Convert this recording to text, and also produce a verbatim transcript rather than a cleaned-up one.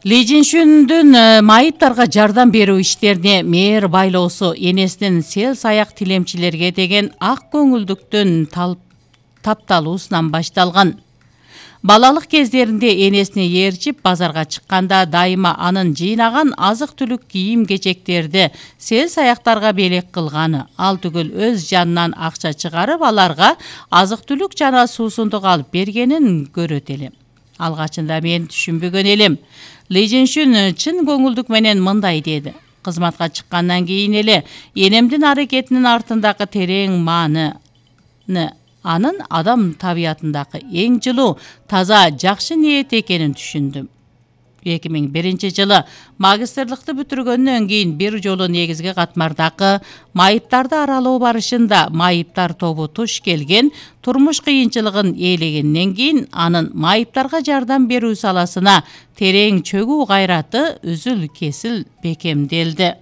Ли Жинчүндүн майыптарга жардам берүү иштерине мээр байлоосу энесинин сел саяк тилемчилерге деген ак көңүлдүктүн тапталуусунан башталган. Балалык кездеринде энесине ээрчип базарга чыкканда дайыма анын жыйнаган азык-түлүк кийим-кечектерди сел саяктарга белек кылганы, ал түгүл өз жанынан акча чыгарып аларга азык-түлүк жана суусундук алып бергенин көрөт элем. Алгачында мен түшүнбөгөн элем. Ли Жинчүн чын көңүлдүк менен мындай деди: кызматка чыккандан кийин эле энемдин аракетинин артындагы терең маанины, анын адам табиятындагы эң жылуу, таза, жакшы ниет экенин түшүндүм. эки миң биринчи жылы магистрлыкты бүтүргөндөн кийин бир жолу негизги катмардагы майыптарды аралоо барышында майыптар тобу туш келген турмуш кыйынчылыгын ээлегенден кийин анын майыптарга жардам берүү саласына терең чөгүү кайраты үзүл кесил бекемделди.